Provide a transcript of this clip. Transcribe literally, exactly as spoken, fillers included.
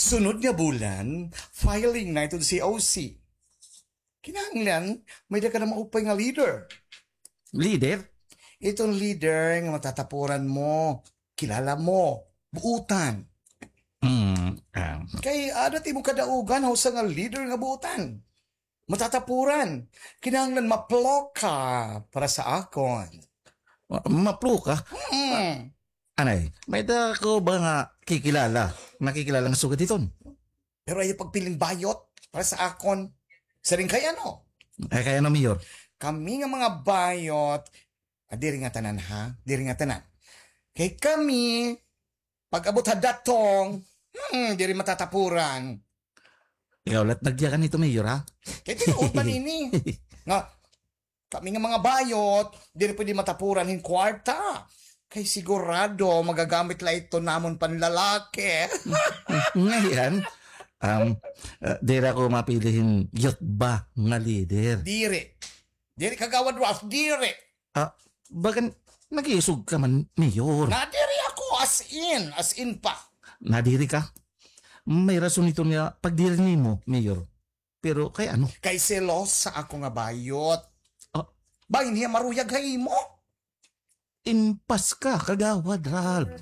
Sunod nga bulan, filing na iton C O C. Kinahanglan, may-ada ka na maupay nga leader. Leader? Iton leader nga matatapuran mo, kilala mo, buutan. Hmm, ah. Kay adat imo kadaugan, ha usa nga leader nga buutan. Matatapuran. Kinahanglan maplo ka para sa akon. Ma-, maplo ka? Hmm. Anay, may-ada ko ba nga kikilala? Nakikilala nga sugad hiton? Pero ayaw pagpiling bayot para sa akon. Siring kay ano? Ay, kay ano, Mayor? Kami nga mga bayot, ah, diri nga tanan, ha? Diri nga tanan. Kay kami, pag-abot ha datong, hmm, diri matatapuran. Ikaw, lat nagyakan ito, Mayor, ha? Kay tinuod man ini. Nga, kami nga mga bayot, diri pwede matapuran hin kwarta. Kay sigurado, magagamit la ito namon panlalaki. Ngayon, um, uh, diri ako mapili hin youth ba nga leader. Diri. Diri, Kagawad Ralph, diri. Ah, bagan, nag-iisog ka man, Mayor. Nadiri ako, as in, as in pa. Nadiri ka? May rason ito niya pagdiri nimo, Mayor. Pero kay ano? Kay selosa ako nga bayot. Ah. Bangin hiya maruyag ha imo. Impas ka, Kagawad Ralph.